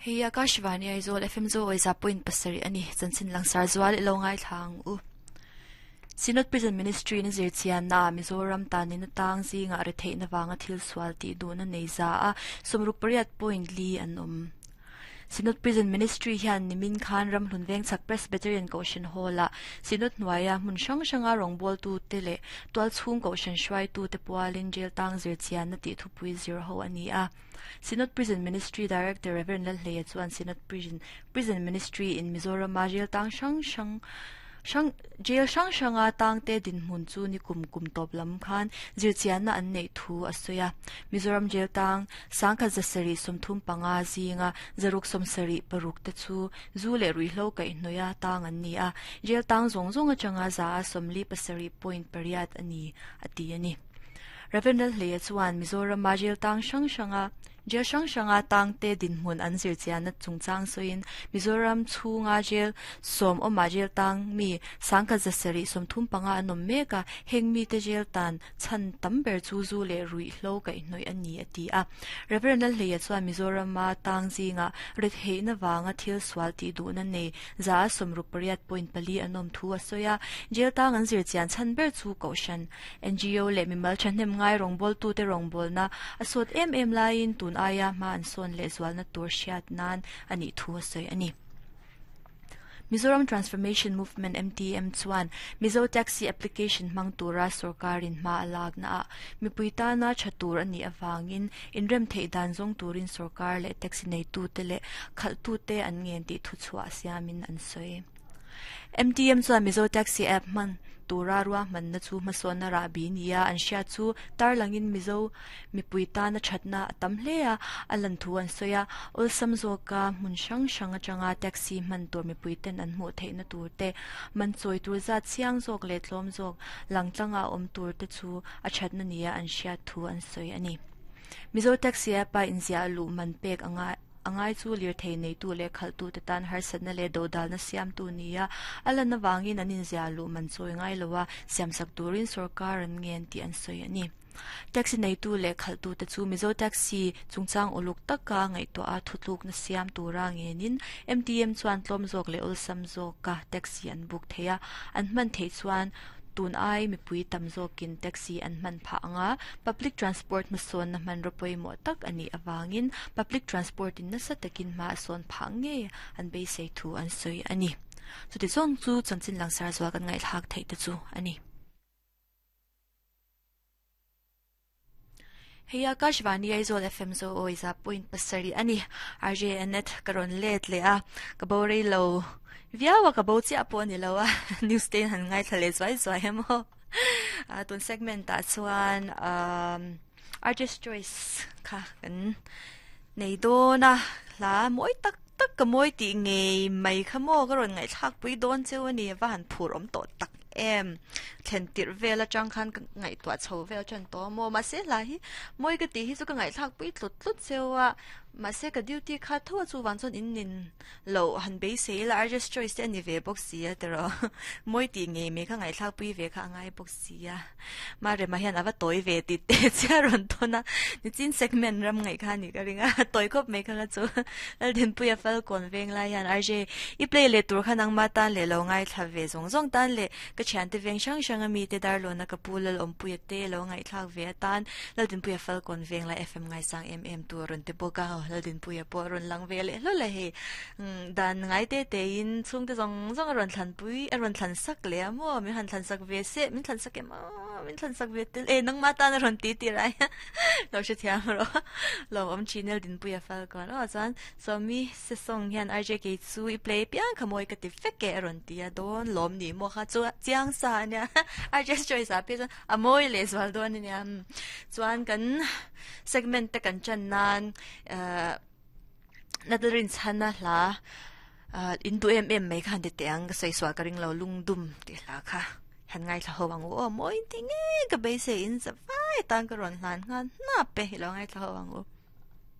Hei Akashvani Aizawl FM Zo Awiza point pasarih a ni. Chanchin langsar zual i lo ngaithla ang u. Synod Prison Ministry na zirchianna ah Mizoram tanin atang zingah retheihna vanga thil sual tih duhna nei za a 68.4 an awm. Synod Prison Ministry hian nimin khan Ramhlun Vengchhak Presbyterian Kohhran Hall-ah Synod hnuaia hmun hrang hranga rawngbawltute leh tualchhung kohhran hruaitute pualin jail tang zirchianna tih thupui zir ho a ni a. Synod Prison Ministry Director Rev. Lalhleia chuan Synod Prison Prison Ministry in Mizorama jail tang hrang hrang hrang jail hrang hranga tangte dinhmun chu ni kum kum tawp lam khan zirchianna an neih thu a sawi a. Mizoram jail tang Sangkhat zasarih 35 zinga zaruk 76 te chu zu leh ruihhlo kaihhnawih a tang an ni a, jail tang zawng zawng atanga za a 47.8 a ni, a ti a ni. Rev. Lalhleia chuan Mizorama jail tang hrang hranga Jail hrang hranga tangte dinhmun an zirchianna chungchang sawiin Mizoram chhunga jail sawm awmah jail tang mi sangkhat zasarih 35 an awm mek a, heng mite jail tan Chhan tam ber chu zu leh ruihhlo kaihhnawih a ni, a ti a. Rev. Lalhleia chuan Mizorama tang zingah retheihna vanga thil sual tih duhna nei za a 68.4 an awm thu a sawi a. Jail tang an zir chian chhan ber chu Kohhran, NGO leh mimal thahnem ngai rawngbawltute rawngbawlna a sawt em em laiin tun aia hma an sawn leh zualna tur hriat nan a nih thu a sawi a ni. Mizoram Transformation Movement, MTM, chuan Mizo Taxi Application hmang tura sorkarin hma a lakna ah mipui tana tha tur a nih avangin inrem theih dan zawng turin sorkar leh taxi neitute leh khalhtute an ngen tih thuchhuah siamin an sawi. MTM chuan Mizo Taxi App hman tura ruahmanna chu hmasawnna rahbi nia an hriat chu tarlangin Mizo mipui tana thatna a tam hle a, a lan thu an sawi a, awlsam zawka hmun hrang hrang atanga taxi hman tur mipui ten an hmuh theihna tur te, man chawi tur zat chiang zawk leh tlawm zawk langtlanga awm tur te chu a thatna nia an hriat thu an sawi a ni. Mizo Taxi app-a inziah luh man pek anga A ngai chu lirthei neitu leh khalhtute tan harsatna leh dodalna siamtu nia a lan avangin an inziah luh man chawi ngai lo a, siamsak turin sorkar an ngen tih an sawi a ni. Taxi neitu leh khalhtute chu Mizo Taxi chungchang uluk taka ngaihtuah a thutlukna siam tura ngenin MTM chuan tlawm zawk leh awlsam zawka taxi an book thei a, an hman theih chuan Tun ai mipui tam zawkin taxi an hman phah ang a, public transport hmasawnna hmanraw pawimawh tak a nih avangin public transport in nasa takin hma a sawn phah ngei an beisei thu an sawi a ni. Chuti zawng chu chanchin langsar zual kan ngaihthlak theih te chu a ni. Hei Akashvani Aizawl FM Zo Awiza point pasarih a ni. RJ Annette ka rawn let leh a, ka bo rei lo viau a, ka bo chiah pawh a ni lo a, news te in han ngaithla leh zuai zuai em aw. Tun segment ah chuan RJ's Choice kha kan nei dawn a, hla mawi tak tak ka mawi tih ngei mai kha maw ka rawn ngaihthlak pui dawn cheu a ni, a va han phur awm tawh tak em. Thlen tirh vel atang khan ka ngaihtuah chho vel tan tawh a maw mahse hla hi mawi ka tih hi chu ka ngaihthlak pui tlut tlut cheu a mahse ka duty kha tho a chuvang chuan in nin loh han beisei ila Arjus choice te a ni ve bawk si a tiraw mawi tih ngei mai kha ngaihthlak pui ve kha a ngai bawk si a ma rema hian a va tawi ve tih te chiah rawn tawn a nichin segment ram ngaih kha a nih ka ring a tawi khawp mai kha kha chu Laldinpuia Falkawn veng lai hian RJ i play leh tur kha nangma tan leh lo ngaithla ve zawng zawng tan leh Ka thiante veng hrang hrang a mite Darlawna ka pu Lalawmpuia te lo ngaihthlak ve atan Laldinpuia Falkawn veng lai FM ngaisang em em tu a rawn ti bawk a, Laldinpuia pawh a rawn lang ve leh hlawl a hei. Dan ngai te tein chhungte zawng zawng a rawn thlanpui a rawn thlan sak leh a maw min han thlan sak ve se min thlan sak em aw min thlan sak ve tel e nangmah tan a rawn ti tir ai lo hrethiam rawh lawmawm thin Laldinpuia Falkawn aw chuan Sawmi Sesong hian RJ kei chu i play piang kha mawi ka ti vek e a rawn ti a, dawn lawm ni maw kha chu chiang sa a nia RJ's choice ah phei chuan a mawi leh zual dawn a nia chuan kan segment te kan chan nan eh Natlerin chhana hla in duh em em mai kha han ti teh ang ka sawi sual ka ring lo lungdum tih hla kha han ngaithla ho ang u aw mawi ti nge ka beisei in za vai tan ka rawn hlan nghal hnap e i lo ngaithla ho ang u.